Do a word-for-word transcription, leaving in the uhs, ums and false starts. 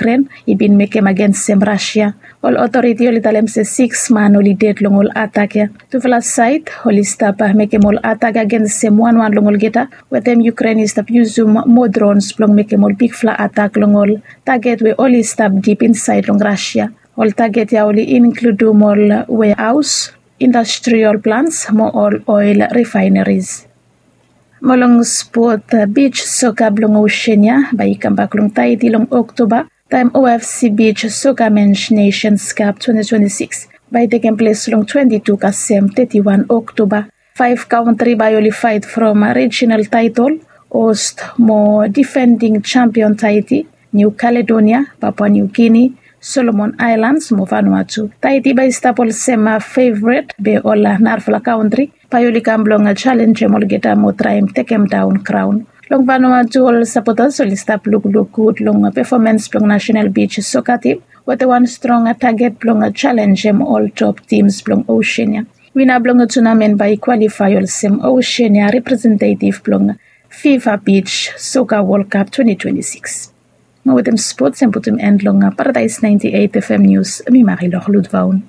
Yukren i bin mekem agensem Rasia. Ol otoriti oli talem se siks man oli ded long ol atak ya. Tufala saed oli stap mekem ol atak agensem wanwan long olgeta, wetem Yukren i stap yusum moa drons blong mekem ol bigfala atak long ol taget we oli stap dip insaed long Rasia. Ol taget ya oli inkludum ol weahaos, industrial plants mo ol oil refineries. Mo long spot, bij soka blong Osean ya bae i kambak long Taiti long Oktoba, taem OFC Bij Soka Men's Nations Cup twenty twenty-six bae i tekem ples long twenty-two kasem thirty-one Oktoba. Faef kantri bae oli faet from regional taetol, host mo defending champion Taiti, New Caledonia, Papua New Guinea, Solomon Islands mo Vanuatu. Taiti bae i stap olsem fevret be ol narafala kantri bae oli kam blong jalenjem olgeta mo traem tekemdaon kraon. Long Vanuatu ol sapotas oli stap lukluk gud long pefomans blong nasenal bij soka tim wetem wan strong taget blong jalenjem ol top tims blong Osean ya. Wina blong tunamen bae i kwalifae olsem Osean ya representetiv blong FIFA Bij Soka Wol Kap twenty twenty-six. Mo wetem spots em putum en long Paradaes ninety-eight FM Nius, mi Marilor Ludvaun.